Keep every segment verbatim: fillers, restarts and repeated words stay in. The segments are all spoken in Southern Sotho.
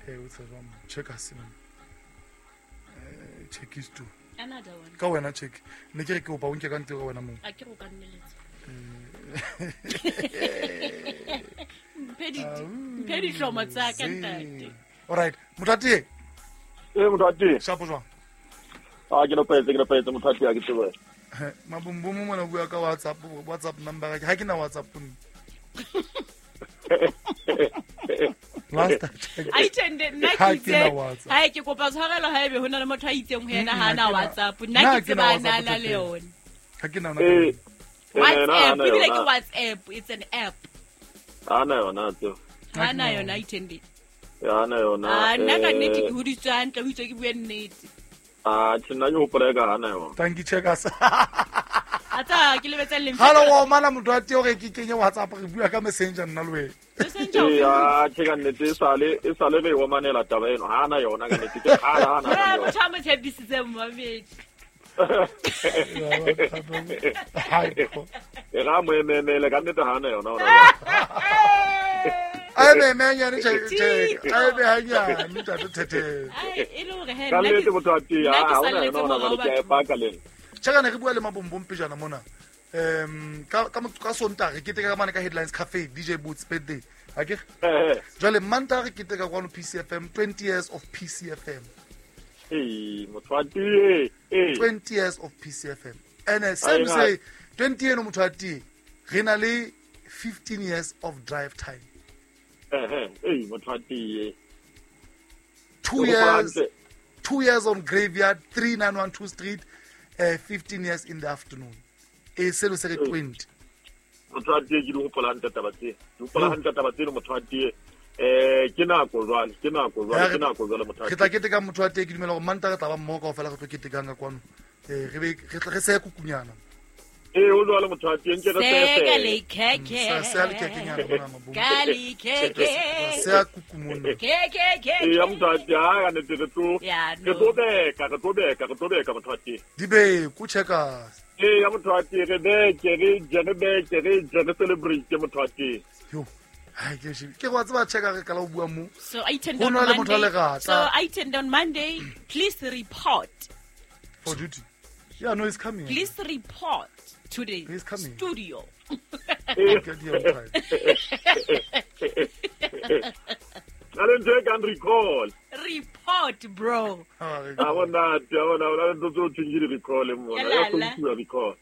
Eh o tseba mo check us man. Eh check is two. Another one. Ka wena check. Ne ke re ke opa o nke ka ntse ka wena mo. A ke go ka nneletsa. Mphe di mphe di hlomo tsa ka ntate. All right, Motati. Eh Motati. Shapo jwang? Ah ke lopetse ke lopetse Motati a ke tsebe. Mabumbumu mona bua ka WhatsApp WhatsApp number ha ke na WhatsApp nna. Last time I tende nna ke itse ha ke kopa tshwarelo ha ebe hona le motho a itseng ho yena ha na WhatsApp nna ke tseba na na le yona. Ha ke na WhatsApp ebile ke WhatsApp, it's an app. Ha na yona tso. Ha na yona itende. Ya na yona. Ah nna ka nnete ke hoditswe hantle ho itswe ke bue nnete. Ah tjena ke hopola ka hana yona. Thank you checkers. Ata ke lebetsa le. Halo wa mana motho a teo re ke kenye WhatsApp re bua ka Messenger nna le wena. Messenger. Ya che ka nnete e sale e sale re wa manela taba eno. Ha na yona ka nnete ke ha na. Ha motho a mo tshepisitse mmamedi. E ra mo ememele ka nnete ha na yona ona. Ai me me nyane che che ai be ha nyane ntate thethe. Ai e le hore he nna ke motho a tia ha ona yona ona ke a paka le. Chaka ne re bua le Mabombom pejana mona. Um ka ka ka Sontaga re keteka ka mane ka Headlines Cafe D J Boots birthday. Ha ke? Jwale Mantaga re keteka kwano P C F M twenty years of P C F M. Eh motho a tie eh twenty years of P C F M. And same say twenty eno motho a tie re na le fifteen years of drive time. Eh eh motho a tie. two years two years on Graveyard three nine one two Street. Uh, fifteen years in the afternoon. E selo se re twenty. Motho a tie ke di hopola hantle taba tse. Di hopola hantle taba tse motho a tie. Eh ke nako jwale, ke nako jwale, ke nako jwale motho a tie. Re tla keteka motho a tie ke dumela hore Mantaga re tla ba mmoho kaofela re tlo ketekang ka kwano. Eh re be re tla re se kukunyana. Eh o jwale motho a tie nke re se se. Ka le khekhe. Se a le khekenyana mona mabong. Ka le khekhe. Se a kukumona. Khekhe khekhe. Eh ya motho a tie ha ka nete re tlo. Re tlo beka, re tlo beka, re tlo beka motho a tie. Di be ku checkers. Eh ya motho a tie re beke re je re beke re je re celebrate motho a tie. Yo. Ai ke shi. Ke go tseba checker re kala o bua mo. So I tend on Monday. So I tend on Monday, please report. For duty. Yeah, no, he's coming. Please report to the he's coming. Studio. Get here on time. I don't take and recall. Report, bro. I want that. I want that. I don't think you recall him. I don't recall.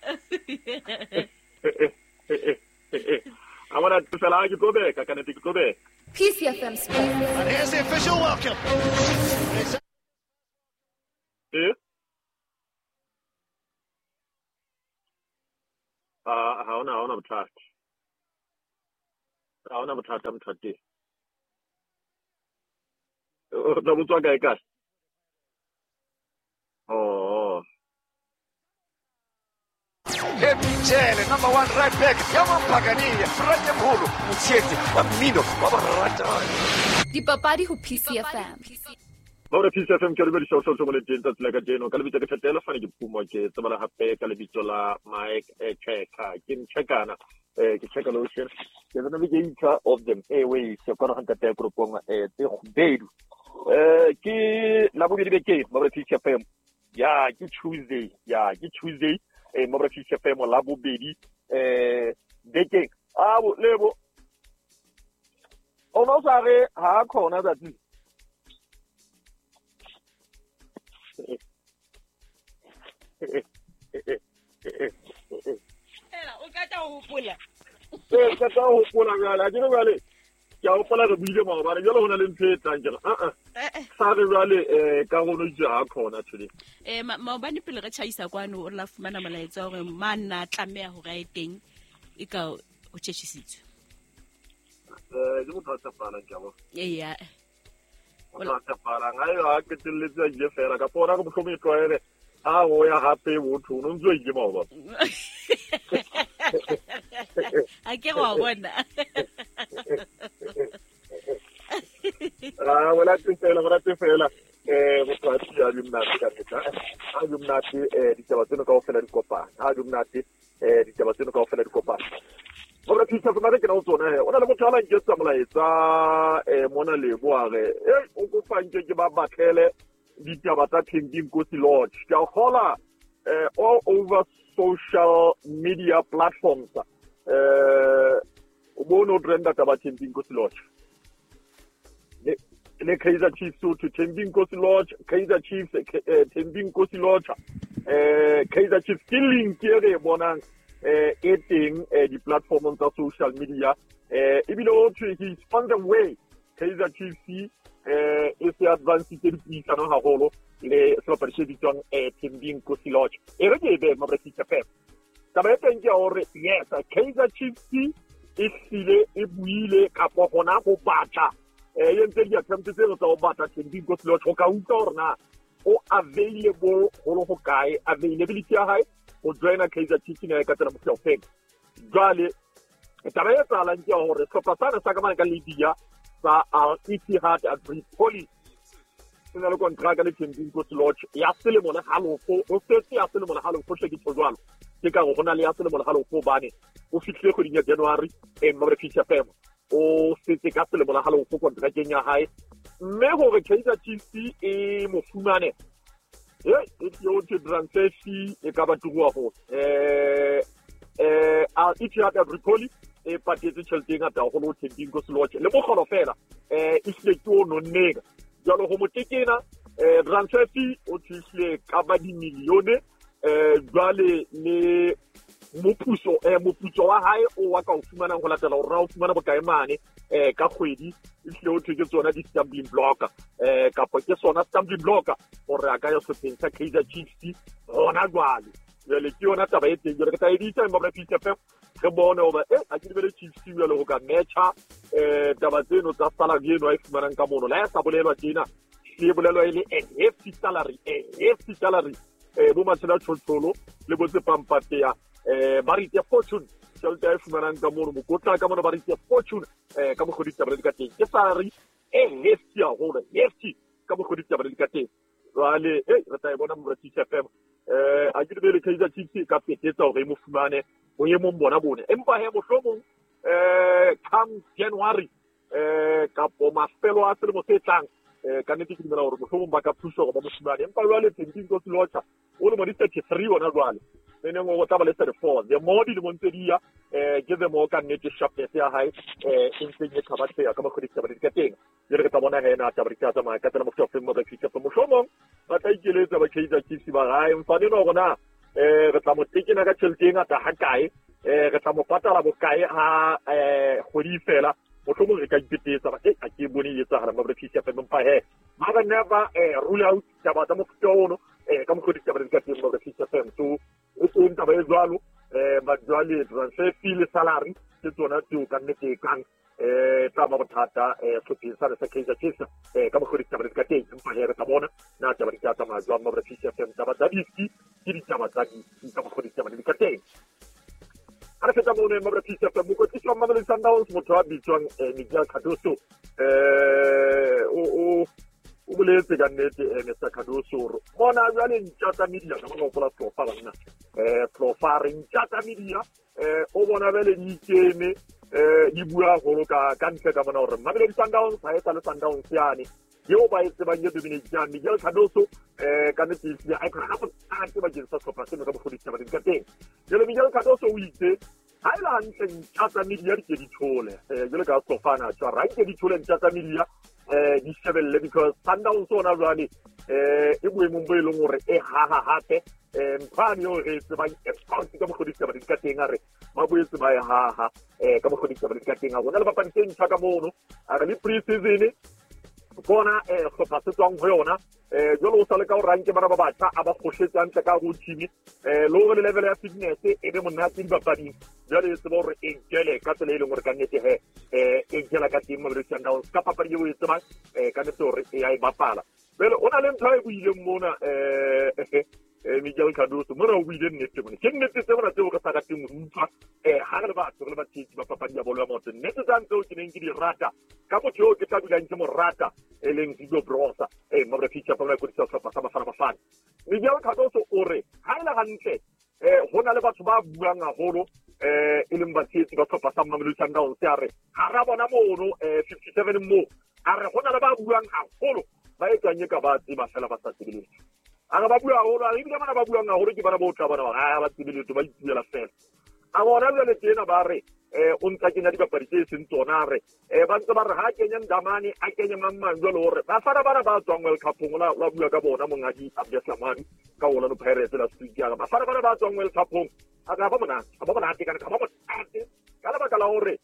I want to tell you go back. I can't go back. P C F M Sports. And here's the official welcome. Eh? Ah, ha ona ha ona bothata. Ha ona bothata motho a teng. O tla botswa kae kae? Oh. Epitshele number one right back ya Mampakania Frate Mholo Motshetsi wa mmino wa boratani. Dipapadi ho P C F M. Ba P C F M ke re bedisa so so mo le teng tsatsi la kajeno ka lebitso ke Thetelo fane ke Phumo ke tsebala hape ka lebitso la Mike Cheka ke nchekana eh ke cheka lotion ke the navigator of them airways ke kona hanta te group eh tse kgubedu eh ke la bobedi beke ba P C F M ya ke Tuesday ya ke Tuesday eh mo P C F M la bobedi eh beke a bo lebo o no sa re ha khona tsatsi Ela o ka ta hopola. Eh ka ta hopola jwale, ke jwale ke a hopola re buile maobane jwale hona le ntho e tlang ke re a a. Sa re jwale eh ka rona itse ha khona today. Eh maobane pele re tjhaisa kwano o la fumana molaetsa hore manna tlameha hore a e teng e ka o tjhetjhisitswe. Eh ke motho a tshepahalang ke a bona. Eh ya. Motho a tshepahalang ha a qetelletse a ile fela ka pona go mohlomong e tlwaele a o ya hape botho o ntse o ile maobane. A ke go bona. Ah wala tefela wala tefela eh motho a tsia di mnate ka tla a di mnate eh ditaba tseno kaofela di kopana a di mnate eh ditaba tseno kaofela di kopana. Mo Mabra P C F M re ke na o tsona he o na le motho a la nketsa molaetsa eh mona lebo a re eh o kopa nke ke ba batlele ditaba tsa Thembinkosi Lorch. Ke a kgola eh all over social media platforms eh o bone o trenda taba Thembinkosi Lorch le le Kaizer Chiefs to Thembinkosi Lorch, Kaizer Chiefs Thembinkosi Lorch eh Kaizer Chiefs ke link e re bonang eh e teng di-platformong tsa social media eh ebile o thwe he is on the way. Kaizer Chiefs eh e se advancitse dipuisano haholo le sehlopha se bitswang eh Thembinkosi Lorch. E re ke e be Mabra P C F M. Taba e teng ke ya hore yes, Kaizer Chiefs e hlile e buile kapa hona ho batla eh e entse di-attempt tseno tsa ho batla Thembinkosi Lorch ho ka utlwa hore na o available ho le hokae, availability ya hae ho joina Kaizer Chiefs ne ka tsela mofuta ofeng. Jwale taba e etsahalang ke ya hore sehlopha sane sa ka mane ka Libya sa Al Ittihad Tripoli se na le kontraka le Thembinkosi Lorch ya selemo le halofo, o setse ya selemo le halofo hle ke tjho jwalo. Ke ka hore ho na le ya selemo le halofo hobane o fihlile kgweding ya January eh Mabra P C F M o setse ka selemo le halofo kontrakeng ya hae, mme hore Kaizer Chiefs e mo fumane e e yo te transfer fee e ka ba turu haholo. Eh eh Al Ittihad Tripoli e patetse tjhelete e ngata haholo ho Thembinkosi Lorch le mokgolo fela eh e hlile ke o nonneng. Jwale ho motekena eh transfer fee o tlile ka ba dimilione eh jwale le moputso eh moputso wa hae o wa ka o fumanang ho latela hore o fumana bokae mane eh ka kgwedi e hlile o thwe ke tsona di-stumbling block eh kapa ke sona stumbling block hore a ka ya sehlopheng sa Kaizer Chiefs hona jwale. Jwale ke yona taba e teng. Jwale ke tla e ditsa Mabra P C F M re bone hoba eh a ke lebele Chiefs jwale ho ka matcha eh taba tseno tsa salary eno a e fumanang ka mono. Le ha e sa bolelwa tjena, e bolelwa e le a hefty salary, a hefty salary eh bo Matshela Tshotsholo le bo Tsepampatea eh ba re itse fortune tjhelete a e fumanang ka mono, mokotla ka mono ba re itse fortune eh ka mokgwa ditaba di ka teng. Ke salary e hefty haholo, hefty ka mokgwa ditaba di ka teng. Jwale eh re tla e bona Mabra P C F M eh a ke lebele Kaizer Chiefs e ka petetsa hore e mo fumane boemong bona bone. Empa he mohlomong eh come January eh kapo mafelo a selemo se tlang eh ka nnete ke dumela hore mohlomong ba ka thusa hore ba mo fumane. Empa jwale Thembinkosi Lorch o lemo di thirty-three hona jwale, neneng o tla ba le thirty-four. The more dilemong tse di ya eh ke the more ka nnete sharpness ya hae eh e ntseng e kgabatseha ka mokgwa ditaba di ka teng. Jwale re tla bona he na taba di tla tsamaya ka tsela mofuta ofeng Mabra P C F M. Mohlomong ba tla ikeletsa ba Kaizer Chiefs ba hae mfane no rona eh re tla mo tekena ka tjhelete e ngata hakae, eh re tla mo patala bokae ha eh kgwedi fela, mohlomong re ka ipetetsa ba eh a ke bone e etsahala Mabra P C F M. Empa he ba never eh rule out taba tsa mofuta ono eh ka mokgwa ditaba di ka teng Mabra P C F M. So e teng taba e jwalo eh ba jwale transfer fee le salary ke tsona tseo ka nnete e kang eh tla ba bothata eh sehlopheng sa sa Kaizer Chiefs eh ka mokgwa ditaba di ka teng. Empa he re tla bona na taba di tla tsamaya jwang Mabra P C F M. Taba tsa diski ke ditaba tsa diski ka mokgwa ditaba di ka teng. Ha re feta mono Mabra P C F M, mokwetlisi wa Mamelodi Sundowns motho a bitswang Miguel Cardoso eh o o o boletse ka nnete Mister Cardoso hore mona jwale ntja tsa media ka mona hopola Tlofa banna eh Tlofa re ntja tsa media eh o bona bele di ikeme eh di bua haholo ka ka ntle ka mona hore Mamelodi Sundowns ha e sa le Sundowns yane eo ba e tsebang e dominate. Miguel Cardoso eh ka nnete e a ka bothata bakeng sa sehlopha seno ka mokgwa ditaba di ka teng. Jwale Miguel Cardoso o itse ha e le hantle ntja tsa media di ke di thole eh jwale ka Tlofana tjwa ra ke di thole ntja tsa media eh di shebelle because Sundowns ona jwale eh e boemong bo e leng hore e haha hape eh mphane eo re tsebang e ka mokgwa ditaba di ka teng a re ba boetse ba e haha eh ka mokgwa ditaba di ka teng. A rona le bapadi tse ntjha ka mono a re le pre-season bona eh hlopha se tswang ho yona eh jwale o sa le ka o ranke bana ba batjha a ba kgohletse hantle ka ho team eh le hore le level ya fitness e be monate dibapading. Jwale e tseba hore e jele ka tsela e leng hore ka nnete he eh e jela ka teng Mamelodi Sundowns ka papadi eo e tsebang eh ka nnete hore e ya e bapala. Jwale o na le ntho e buileng mona eh eh Miguel Cardoso mona o buile nnete mona ke nnete tse mona tseo re sa rateng ho utlwa eh ha re le batho re le batshehetsi ba papadi ya bolo ya maoto. Nnete tsa tseo ke neng ke di rata ka motho eo ke tla dulang ke mo rata e leng Hugo Broos eh Mabra P C F M la kodisa sehlopha sa Bafana Bafana. Miguel Cardoso o re ha e le hantle eh ho na le batho ba buang haholo eh e leng batshehetsi ba sehlopha sa Mamelodi Sundowns a re ha ra bona mono eh fifty-seven mo a re hona le ba buang haholo ba etsang e ka ba tseba fela ba sa tsebe letho. A re ba bua haholo, a re ebile bana ba buang haholo ke bana bo tla bona ba ha ba tsebe letho ba ipuela fela. A bona jwale tena ba re eh o ntsa kenya dipapadi tse seng tsona a re eh ba ntse ba re ha kenya Ndamane a kenye mang mang jwale hore ba fana bana ba tswang World Cup-ong la la bua ka bona monghadi Abdeslamadi ka Orlando Pirates la Studio a re ba fana bana ba tswang World Cup-ong a ka ba monate a ba monate kana ka ba monate ka lebaka la hore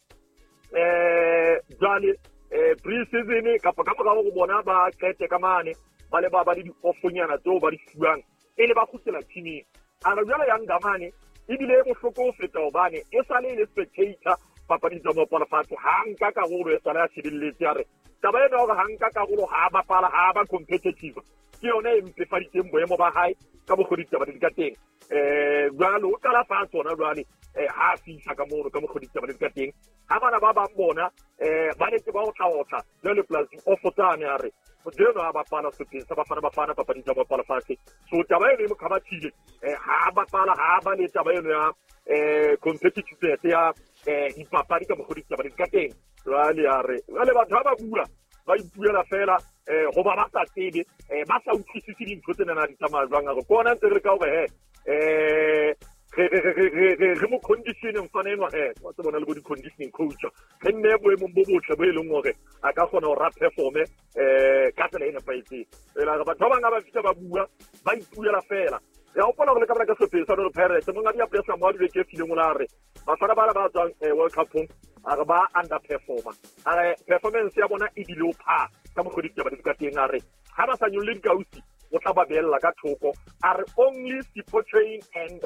eh jwale eh pre-season kapa ka mora hore bona ba qete ka mane ba le ba ba le di-offonyana tseo ba di fuwang e le ba kgutlela teaming. A re jwale ya Ndamane ebile e bohloko ho feta hobane e sale e le spectator papading tsa moaparo fatshe ha nka karolo e sale a shebelletse a re taba ena hore ha nka karolo ha bapala ha ba competitive ke yona e mpefaditseng boemo ba hae ka mokgwa ditaba di ka teng. Eh jwale o qala fatshe hona jwale eh ha fihla ka mono ka mokgwa ditaba di ka teng ha bana ba bang bona eh ba ne ke ba otla otla jwale plus off tsane a re Modeno a bapala sehlopheng sa Bafana Bafana papading tsa moaparo fatshe. So taba eno e mo kgabathile eh ha bapala ha ba le taba eno ya eh competitiveness ya eh dipapadi ka mokgwa ditaba di ka teng. Jwale a re jwale batho ha ba bua ba ipuela fela eh hoba ba sa tsebe eh ba sa utlwisise dintho tsena na di tsamaya jwang. A re ke ona ntse re ka hore he eh re re re re re re mo conditioning mfana enwa he wa tsebona le bo di-conditioning coach re nne boemong bo botle bo e leng hore a ka kgona hore a performe eh ka tsela e nepahetseng. Ela re batho ba bang ha ba fihla ba bua ba ipuela fela. Re a hopola hore le ka bana ka sehlopheng sa Orlando Pirates monghadi Abdeslamadi beke e fileng o la re bafana bana ba tswang World Cup-ong a re ba underperforma a re performance ya bona e bile o pha ka mokgwa ditaba di ka teng. A re ha ba sa nyolle dikausi o tla ba beella ka thoko. A re only Sipho Chaine and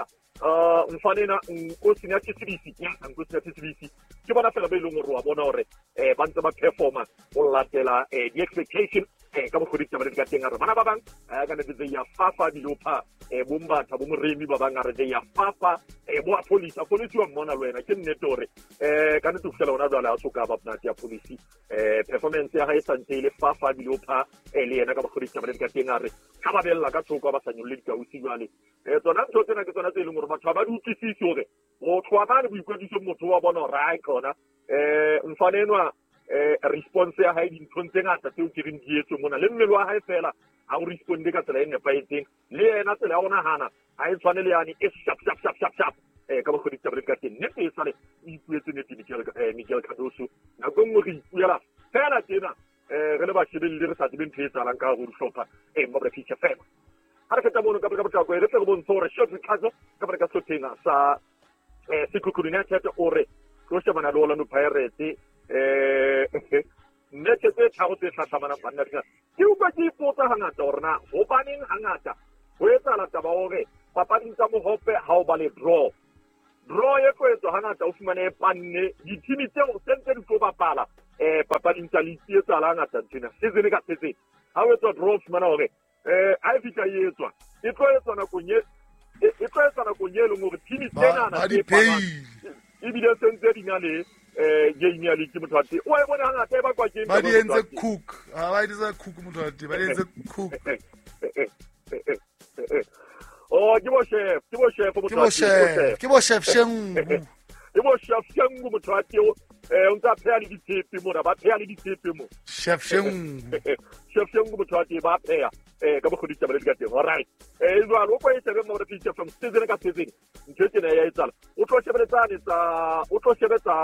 uh mfanena Nkosinathi Sibisi ya Nkosinathi Sibisi ke bona fela ba e leng hore wa bona hore eh ba ntse ba performa ho latela eh di-expectation eh ka mokgwa ditaba di ka teng. A re bana ba bang eh ka nnete they are fafa dilopa eh bo Mbatha bo Moremi ba bang a re they are fafa eh bo a police a police wa mmona le wena ke nnete hore eh ka nnete ho fihlela hona jwale ha so ka ba monate ya police eh performance ya hae e santse e le fafa dilopa eh le yena ka mokgwa ditaba di ka teng. A re ha ba bella ka thoko ba sa nyolle dikausi jwale eh tsona ntho tsena ke tsona tse e leng hore batho ha ba di utlwisise hore motho wa bane boikwetliso motho wa bona hore ae khona eh mfana enwa eh response ya hae dinthong tse ngata tseo ke reng di etswe mona le mmele wa hae fela ha o responde ka tsela e nepahetseng le yena tsela ya ho nahana ha e tshwane le yane e sharp sharp sharp sharp sharp eh ka mokgwa ditaba di ka teng. Nnete e sale o ipuetse nnete Miguel eh Miguel Cardoso nako e nngwe re ipuela fela tjena eh re le bashebelli re sa tsebe ntho e etsahalang ka hare ho dihlopha eh mo re fihla fela. Ha re feta mono ka ka potlako e re tle re bontshe hore Short Ricardo ka baka sehlopheng sa eh Sekhukhune United o re tlo shebana le Orlando Pirates eh nnete tse tharo tse hlahlamanang banna dina ke utlwa ke ipotsa hangata hore na hobaneng hangata ho etsahala taba hore papading tsa mohope ha o ba le draw draw e tlo etswa hangata o fumane e panne dithimi tseo sentse di tlo bapala eh papading tsa league e etsahala hangata nthwena season ka season ha o etswa draw o fumana hore eh ha e fihla e etswa e tlo etswa nakong e e tlo etswa nakong e leng hore thimi tsena ba di pay ebile sentse di na le eh game ya league motho wa teng o e bona hangata e bakwa ke ba di entse cook ha ba di etsa cook motho wa teng ba di entse cook oh ke bo chef ke bo chef motho ke bo chef ke bo chef Shengu ke bo chef Shengu motho wa teng eh o ntsa pheha le ditshepe mona ba pheha le ditshepe mo chef Shengu chef Shengu motho wa teng ba pheha eh ka mokgwa ditaba di ka teng. All right eh jwale o kwa e shebe mo re feature from season ka season ntho tsena ya etsala o tlo shebeletsane tsa o tlo shebetsa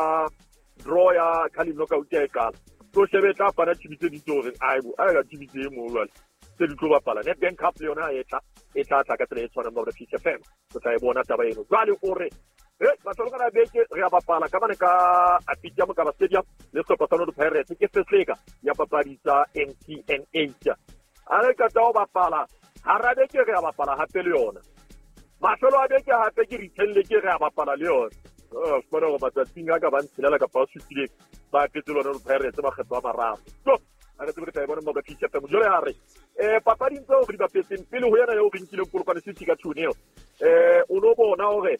draw ya Carling Knockout ya e qala tlo shebetsa bana tshibitse ditso hore aibo a ka tshibitse mo jwale tse di tlo bapala Nedbank Cup le yona e tla e tla tla ka tsela e tshwanang mo re feature F M o tla e bona taba eno jwale o re eh batho ba kana beke re a bapala ka bane ka Apitia Mokaba Stadium le sehlopha sa Orlando Pirates ke sehleka ya papadi tsa M T N eight a re qeta ho bapala hara beke re a bapala hape le yona mafelo a beke hape ke return le ke re a bapala le yona oh fumana hore matsatsing a ka ba ntshelela kapa a supileng ba apetse lona Pirates makgetlo a mararo so a re tsebe re tla e bona mo ba F M jwale a re eh papading tseo re di bapetseng pele ho yena eo re nkileng Polokwane City ka two nil eh o no bona hore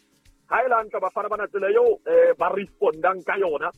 ha e la ntla bafana bana tsela eo eh ba respondang ka yona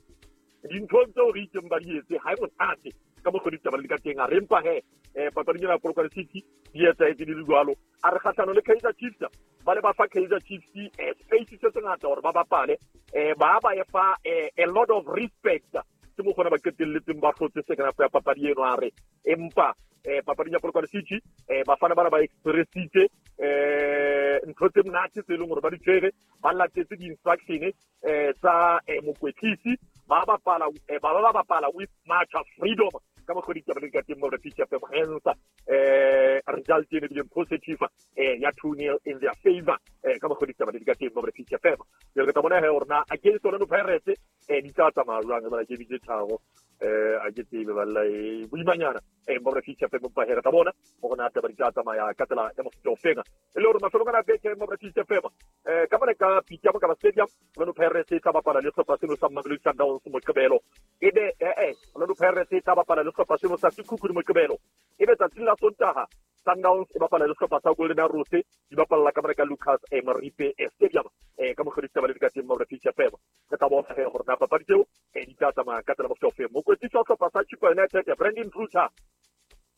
dinthong tseo re itseng ba di etse ha e monate ka mokgwa ditaba di ka teng. A re empa he eh papading ena ya Polokwane City di etsahetse di le jwalo. A re kgahlano le Kaizer Chiefs ba le ba fa Kaizer Chiefs eh, space se sengata hore ba bapale eh ba ba e fa eh, a lot of respect ke mo khona ba qetelletseng ba hlotse second half ya papadi eno a re empa eh papading ya Polokwane City eh bafana bana ba expressitse eh ntho tse monate tse leng hore ba di tshwere ba latetse di-instruction eh tsa eh, mokwetlisi ba bapala eh, ba ba bapala with much freedom ka mokgwa ditaba di ka teng mo re P C F M hence eh result ene bileng positive eh ya two nil in their favor eh ka mokgwa ditaba di ka teng mo re P C F M jwale re tla bona he hore na against Orlando Pirates eh di tla tsamaya jwang ba ke bitse tharo eh a ke tsebe ba la e boimanyana eh mo re P C F M ba he re tla bona hore na taba di tla tsamaya ka tsela ya mofuta o feng e le hore mafelong ana beke mo re P C F M eh ka mona ka Peter Mokaba Stadium Orlando Pirates e tla bapala le sehlopha seno sa Mamelodi Sundowns Moqebelo ebe eh eh Orlando Pirates e tla bapala le sehlopha seno sa Sekhukhune Moqebelo ebe tsatsing la Sontaha Sundowns e bapala le sehlopha sa Golden Arrows di bapalla ka mona ka Lucas eh, Moripe eh, Stadium eh ka mokgwa ditaba le di ka teng mo re P C F M re tla bona he hore na papadi tseo eh di tla tsamaya ka tsela mofuta o feng. Mokwetlisi wa sehlopha sa Chippa United Brandon Truter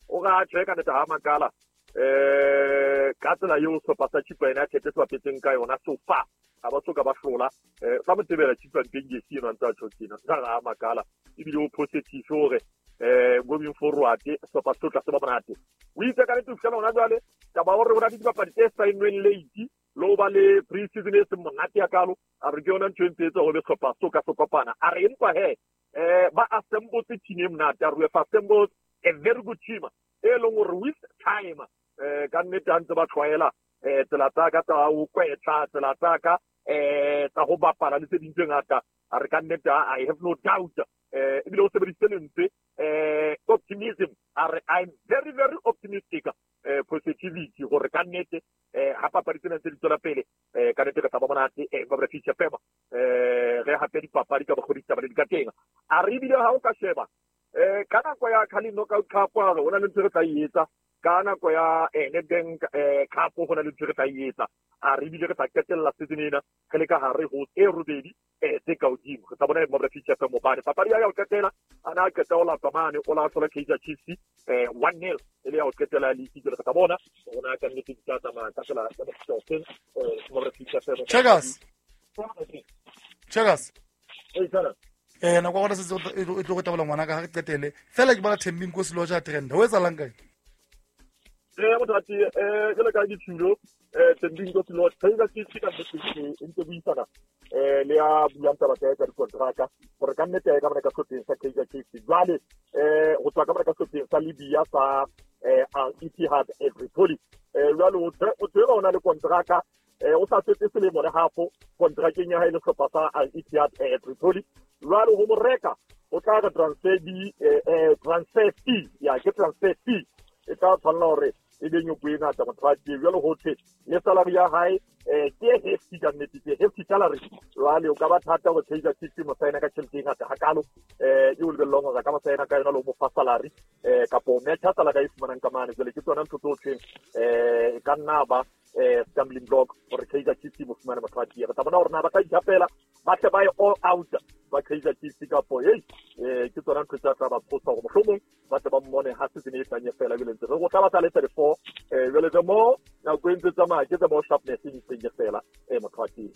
o ga tjhe ka nnete ha makala eh ka tsela eo sehlopha sa Chippa United se bapetseng ka yona so far ha ba soka ba hlola eh fa motebela Chippa Mpengesi eno a ntse a tjho tjena ka ga makala ebile o positive hore eh going forward sehlopha se tla se ba monate o itse ka nnete ho fihlela hona jwale taba hore ho na le dibapadi tse saennweng late le ho ba le pre-season e seng monate hakalo a re ke yona ntho e ntse etsa hore sehlopha so ka se kopana a re empa he eh ba assembletse team e monate a re we have assembled a very good team e leng hore with time eh ka nnete ha ntse ba tlwaela eh tsela tsa ka tsa ho kwetla tsela tsa ka eh tsa ho bapala le tse ding tse ngata a re ka nnete I have no doubt eh ebile o sebedisitse lentswe eh optimism a re I'm very very optimistic eh positivity hore ka nnete eh ha papadi tsena tse di tswela pele eh ka nnete re tla ba monate eh ba re feature pema eh re hape dipapadi ka bokgoni taba le di ka teng a re ebile ha o ka sheba eh ka nako ya Carling Knockout Cup a re hona le ntho re tla e etsa ka nako ya eh Nedbank eh Cup ho na le ntho re tla e etsa a re ebile re tla qetella season ena re le ka hare ho e robedi eh tse ka hodimo re tla bona mo re feature pema mobane papadi ya ho qetela ana a qeta ho lapa mane o la hlola Kaizer Chiefs eh one nil e le ya ho qetela league jwale re tla bona hore na ka nnete di tla tsamaya ka tsela ya mofuta o feng eh mo re feature pema Checkers Checkers eh sana eh nako ya rona setse e tlo go tabola ngwana ka ha re qetele fela ke bona Thembi Nkosi Lodge a trend ho etsahalang kae eh mothati eh jwalo ka dithulo eh Thembi Nkosi Lodge Kaizer Chiefs ka nnete e ntse buisana eh le ya buang taba tsa dikontraka hore ka nnete ka mona ka sehlopheng sa Kaizer Chiefs jwale eh ho tswa ka mona ka sehlopheng sa Libya sa eh Al Ittihad Tripoli eh jwale o tseba o na le kontraka eh o sa setse selemo le half kontrakeng ya hae le sehlopha sa Al Ittihad Tripoli jwale ho mo reka o tla ka transfer di eh transfer fee ya ke transfer fee e tla tshwanela hore e be nyoko e ngata motho a tee jwale ho thwe le salary ya hae eh ke hefty ka nnete ke hefty salary jwale o ka ba thata hore Kaizer Chiefs mo saena ka tjhelete e ngata hakalo eh e o lebellong hore ka mo saena ka yona le ho mo fa salary eh kapo o metjha salary a e fumanang ka mane jwale ke tsona ntho tse o thweng eh e ka nna ba eh stumbling block hore Kaizer Chiefs mo fumane motho a tee re tla bona hore na ba tla ithapela ba tle ba ye all out ba Kaizer Chiefs kapo hey eh ke tsona ntho tsa tla ba phosa hore mohlomong ba tle ba mmone ha season e tlang e fela jwale ntse re go tla ba tla le thirty-four eh jwale the more nako e ntse tsamaya ke the more sharpness e ntseng e fela eh motho a tee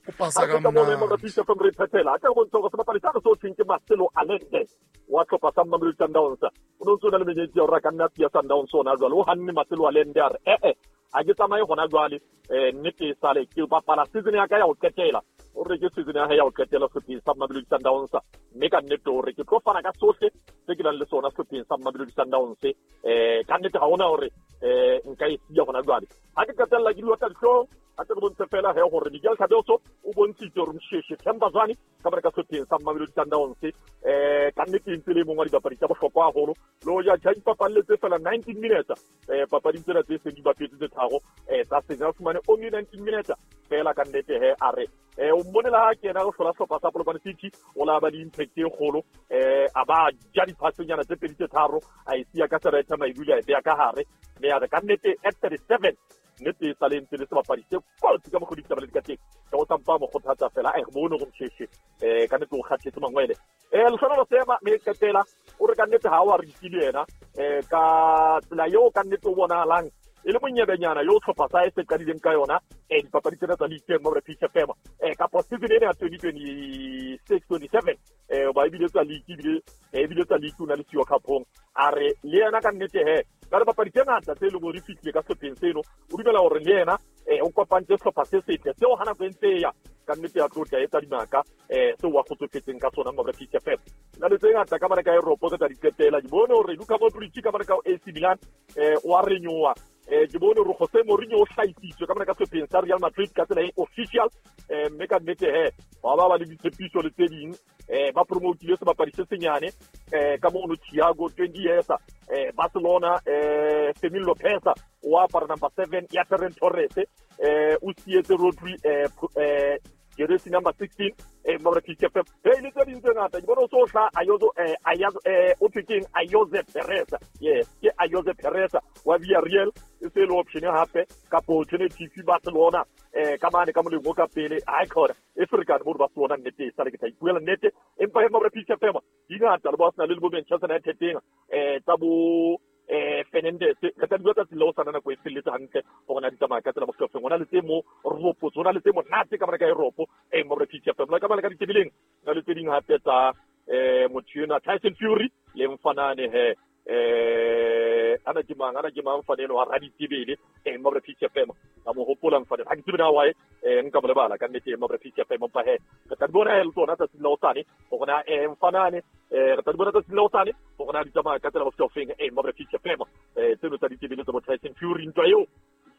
o pasa ka mona mo re pisa from re phethela a ka bontsha hore sebapadi sa re so thweng ke Marcelo Allende wa tlhopha sa Mamelodi Sundowns o no ntse o na le menyetla ya hore a ka nna siya Sundowns ona jwale o hanne Marcelo Allende a re eh eh a ke tsamaye hona jwale eh nnete e sale ke bapala season ya ka ya ho qetela o re ke season ya hae ya ho qetela sehlopheng sa Mamelodi Sundowns mme ka nnete hore ke tlo fana ka sohle se ke nang le sona sehlopheng sa Mamelodi Sundowns eh ka nnete ha hona hore eh nka e siya hona jwale ha ke qetella ke diwa tsa dihlong a tle re bontshe fela he hore Miguel Cardoso o bontshitse hore Msheshe Themba Zwane ka bare ka sehlopheng sa Mamelodi Sundowns eh ka nnete e ntse le mong wa dibapadi tsa bohlokwa haholo le hoja tjha dipapalle tse fela nineteen minutes eh papading tsena tse seng di bapetse tse tharo eh tsa senya o fumane only nineteen minutes fela ka nnete he a re eh o mmonela ha kena go hlola sehlopha sa Polokwane City o la ba le impact e kgolo eh a ba ja diphasenyana tse pedi tse tharo a e siya ka serethe maibule a e beya ka hare mme a re ka nnete at thirty-seven nnete e sale ntse le sebapadi se kotsi ka mokgwa ditaba le di ka teng ka o tsampa mo kgothatsa fela a re bone go Msheshe eh ka nnete o kgathetse mangwele eh Lehlohonolo Seema mme qetela o re ka nnete ha wa re itse le yena eh ka tsela eo ka nnete o bonahalang e le monyebenyana yo tlhopha sa e se qadileng ka yona eh dipapadi tsena tsa league mo re P C F M eh ka season ena ya twenty twenty-six twenty-seven eh ba ebile tsa league ebile ebile tsa league una le siwa cup-ong a re le yena ka nnete he ka re papadi tse ngata tse leng hore di fihlile ka sehlopheng seno o dumela hore le yena eh o kopantse sehlopha se setle seo hana go ntse ya ka nnete ya tlotla e tsa dimaka eh seo wa kgotsofetseng ka sona mo re P C F M na le tse ngata ka bana ka Europe tsa di qetela di bone hore Luka Modric ka bana ka A C Milan eh wa renyoa eh ke bone hore Jose Mourinho o hlahisitswe ka bana ka sehlopheng sa Real Madrid ka tsela e official eh mme ka nnete he ba ba ba le ditshepiso le tse ding eh ba promotile sebapadi se senyane eh ka mono Thiago twenty years eh Barcelona eh Fermin Lopez o apara number seven ya Ferran Torres eh o sietse Rodri eh eh jersey number sixteen eh mabra P C F M hey le tse ding tse ngata ke bona o so hla Ayoze eh Ayoze eh o thekeng Ayoze Perez yes ke Ayoze Perez wa Villarreal e se le option hape ka alternative Barcelona eh ka mane ka moleng o ka pele ha khona e Afrika bo Barcelona nnete e sale ke tla ipuela nnete empa he mabra P C F M di ngata le ba sna le bo Manchester United teng eh tsa bo eh Fernandes re tla bua tsatsi la o sana nako e felletse hantle hore na di tsamaya ka tsela mohlofeng hona le tse mo ropo tsona le tse monate ka bana ka Europe eh mo re P C F M la ka bana ka ditebileng na le tse ding hape tsa eh motho ena Tyson Fury le mfanane he eh ana ke mang ana ke mang mfanelo wa raditebele eh mo re P C F M ka mo hopola mfanelo ha ke tsebe na why eh nka mo lebala ka nnete mo re P C F M mpa he re tla di bona he le tsona tsatsi la o sane hore na eh mfanane eh re tla di bona tsatsi la o sane hore na di tsamaya ka tsela mohlofeng eh mo re P C F M eh tseno tsa ditebele tsa bo Tyson Fury ntwa eo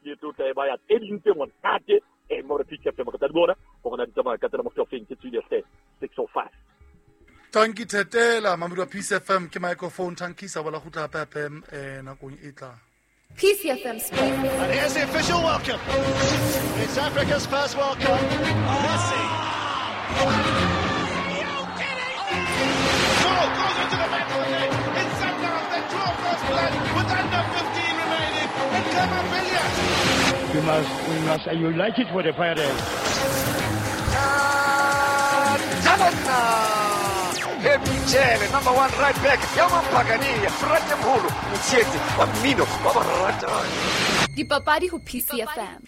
ke tlo tla e ba ya tse ding tse monate eh mo re P C F M re tla di bona hore na di tsamaya ka tsela mohlofeng ke tswile hle six oh five. Tanki Thetela mamedi wa P C F M ke microphone tankisa bola kgutla hape hape eh nakong e tlang. P C F M Sports. And here's the official welcome. It's Africa's first World Cup. Messi. Are you kidding? Goal goes into the back of the net. It's Sundowns that draw first blood with under fifteen remaining. And Clement. We must, we must unite it for the fire. Michele, number one right back, ya Mampagania, Frate Mholo, Motsheetsi wa mmino wa baratani. Dipapadi ho P C F M.